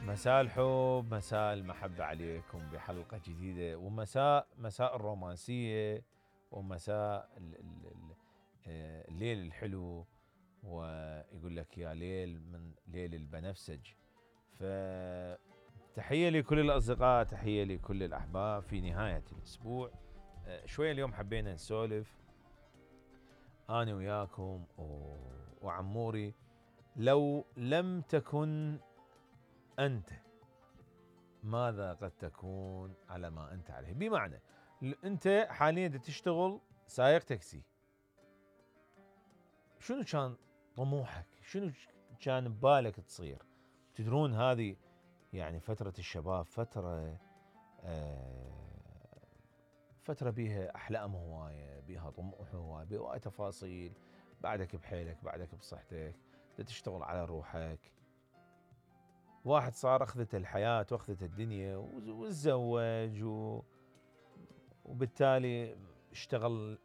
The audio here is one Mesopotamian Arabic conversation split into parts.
مساء الحب، مساء المحبة عليكم بحلقة جديدة، مساء الرومانسية، ومساء الليل الحلو، ويقول لك يا ليل من ليل البنفسج. فتحية لكل الأصدقاء، تحية لكل الأحباب في نهاية الأسبوع. شوية اليوم حبينا نسولف أنا وياكم وعموري. لو لم تكن أنت، ماذا قد تكون على ما أنت عليه؟ بمعنى أنت حاليا تشتغل سائق تاكسي، شنو كان طموحك؟ شنو كان ببالك تصير؟ تدرون هذه يعني فترة الشباب، فترة بيها أحلام هواية، بيها طموح هواية، بيها هواية تفاصيل. بعدك بحيلك، بعدك بصحتك، تشتغل على روحك. واحد صار أخذت الحياة وأخذت الدنيا وتزوج وبالتالي اشتغل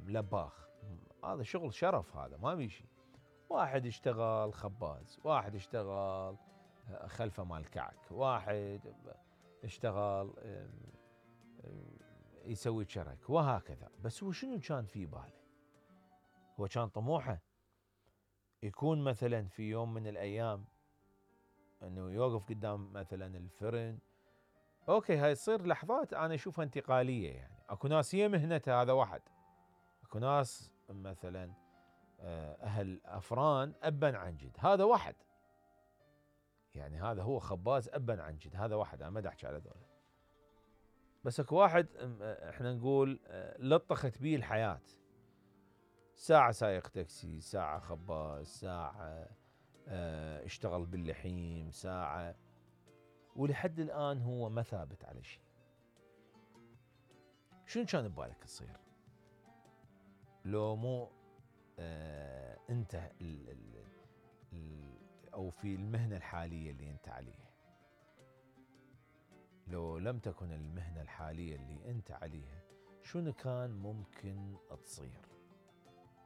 لباخ. هذا شغل شرف، هذا ما بيشي. واحد اشتغل خباز، واحد اشتغل خلفه مال كعك، واحد اشتغل يسوي شرك، وهكذا. بس هو شنو كان في باله؟ هو كان طموحه يكون مثلا في يوم من الأيام انه يوقف قدام مثلا الفرن. اوكي، هاي تصير لحظات انا اشوفها انتقاليه، يعني اكو ناس هي مهنتها، هذا واحد. اكو ناس مثلا اهل افران ابا عن جد، هذا واحد. يعني هذا هو خباز ابا عن جد، هذا واحد. انا ما احكي على ذولا. بس اكو واحد احنا نقول لطخت بيه الحياه، ساعه سايق تاكسي، ساعه خباز، ساعه اشتغل باللحيم، ساعه، ولحد الآن هو ما ثابت على شيء. شنو كان ببالك تصير لو مو انت او في المهنة الحالية اللي انت عليها؟ لو لم تكن المهنة الحالية اللي انت عليها، شنو كان ممكن تصير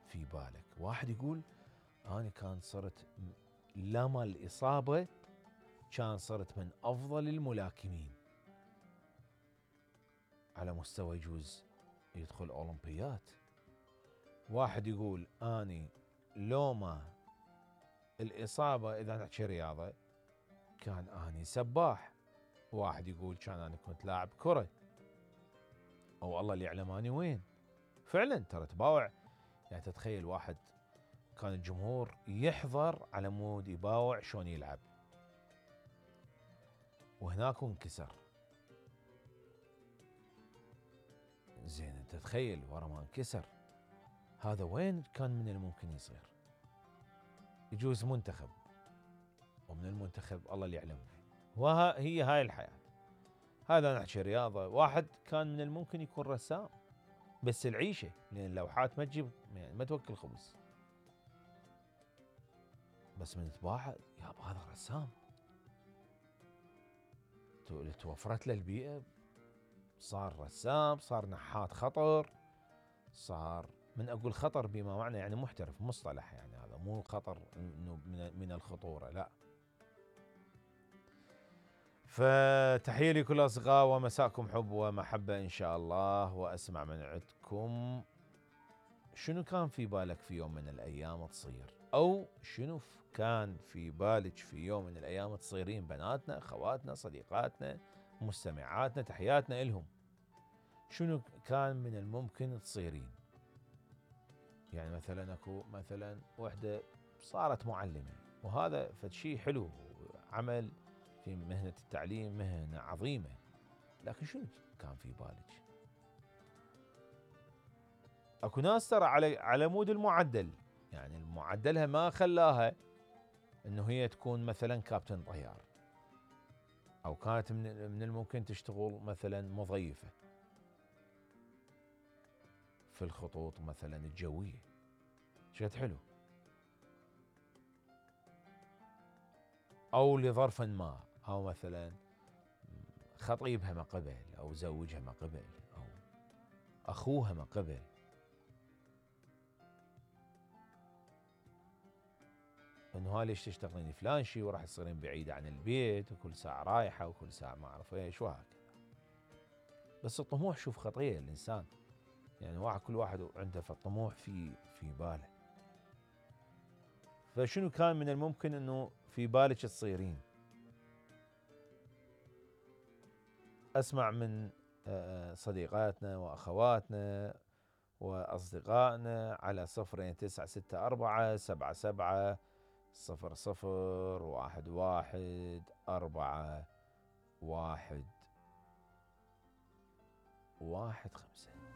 في بالك؟ واحد يقول انا كان صرت لما الإصابة كان صرت من أفضل الملاكمين على مستوى، يجوز يدخل أولمبيات. واحد يقول أني لو ما الإصابة، إذا نحكي رياضة، كان أني سباح. واحد يقول كان أنا كنت لاعب كرة، أو الله اللي يعلم أني وين. فعلا ترى تباوع. يعني تتخيل واحد كان الجمهور يحضر على مود يباوع شلون يلعب، وهناك انكسر. زين انت تخيل ورا ما انكسر، هذا وين كان من الممكن يصير؟ يجوز منتخب، ومن المنتخب الله اللي يعلم. وهي هاي الحياة. هذا نحكي رياضة. واحد كان من الممكن يكون رسام، بس العيشة، لأن اللوحات ما تجيب، يعني ما توكل خبز. بس من تباعد يابا هذا رسام، توفرت له البيئة، صار رسام، صار نحات خطر، صار، من أقول خطر بما معنى يعني محترف، مصطلح، يعني هذا مو خطر إنه من الخطورة، لا. فتحية لكل الأصدقاء، ومساءكم حب ومحبة إن شاء الله. وأسمع من عندكم شنو كان في بالك في يوم من الأيام تصير، أو شنو كان في بالك في يوم من الأيام تصيرين؟ بناتنا، خواتنا، صديقاتنا، مستمعاتنا، تحياتنا إلهم. شنو كان من الممكن تصيرين؟ يعني مثلا اكو مثلا وحده صارت معلمة، وهذا فشي حلو، عمل في مهنة التعليم مهنة عظيمة، لكن شنو كان في بالك؟ اكو ناس ترى على مود المعدل، يعني معدلها ما خلاها انه هي تكون مثلا كابتن طيار، او كانت من الممكن تشتغل مثلا مضيفة في الخطوط مثلا الجوية. شكد حلو. او لظرف ما، او مثلا خطيبها ما قبل، او زوجها ما قبل، او اخوها ما قبل. انه ها ليش تشتغلين فلان شي وراح تصيرين بعيدة عن البيت وكل ساعة رايحة وكل ساعة ما اعرف ايش وهكذا. بس الطموح شوف خطية الانسان، يعني كل واحد عنده الطموح في باله. فشنو كان من الممكن انه في بالك تصيرين؟ اسمع من صديقاتنا واخواتنا واصدقائنا على 0964 7700 11 1 1 5.